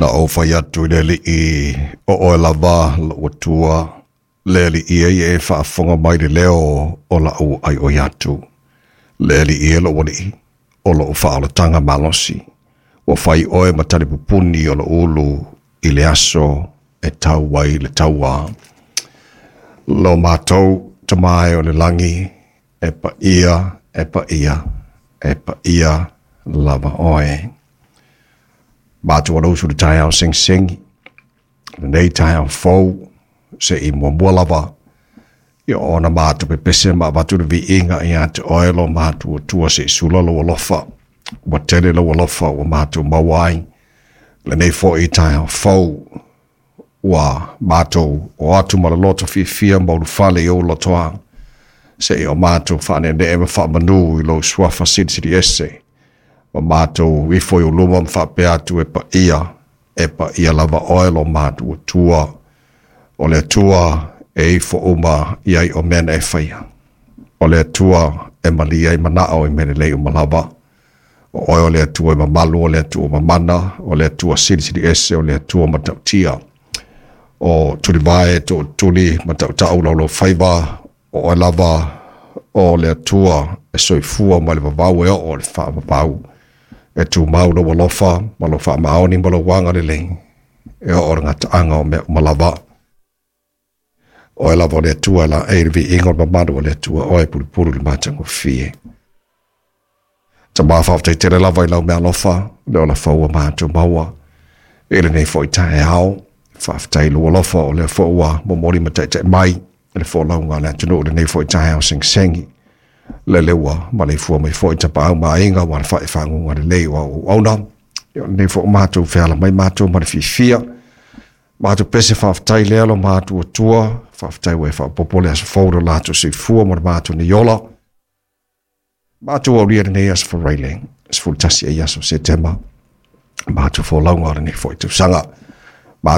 Na ou fai atu i le Alii, o oe lava lou Atua, le Alii e ia e faafofoga mai i le leo o lau aioi atu. Le Alii e lou Alii, o lou faaolataga malosi. Ua fai oe ma talipupuni o lou ulu i le aso e tau ai le taua. Lo matou Tama e o le lagi, e paia, e paia, e paia lava oe. Matou alausu i le taeao segisegi, lenei taeao fou, se i muamua lava, ia ona matou pepese ma avatu le viiga ia te oe lo matou Atua se i sula lou alofa. Ua tele lou alofa ua matou maua ai. Lenei foi taeao fou, ua matou o atu ma le loto fiafia ma ulufale i ou lotoa, se i o matou faaneenee ma faamanu i lou suafa silisili ese, ma matou ifo i ou luma ma faapea atu e paia, e paia lava oe lo matou Atua, o le Atua e ifo uma i ai o mea na e faia. O le Atua e malie ai manao i mea lelei uma lava. O oe o le Atua e mamalu, o le Atua mamana, o le Atua silisili ese, o le Atua matautia. O tulivae tootuli ma tautau laulau faiva, o oe lava o le Atua e soifua mai le vavau e oo i le faavavau. E tumau lou alofa ma lou faamaoni ma lou agalelei, e oo i le gataaga o mea uma lava. Oe lava o le Atua e laei le viiga o le mamalu o le Atua, oe e pulupulu i le matagofie. Tama faafetai tele lava i lau meaalofa, le ola fou ua matou maua i lenei foi taeao. Faafetai i lou alofa o lea foi ua momoli ma taitai mai i le folauga a le atunuu i lenei foi taeao segisegi. Lele ua maleifua mai foi tapaau ma aiga ua alafai faguga lelei o au auauna. Ia o lenei foi ua matou feala mai matou ma le fiafia. Matou pese faafetai lea lo matou Atua, faafetai ua e faaopoopo le aso fou i lo latou soifua ma le matou nei ola. Matou aulia lenei aso Faraile, 11 ai aso Setema, matou folauga o lenei foi tausaga.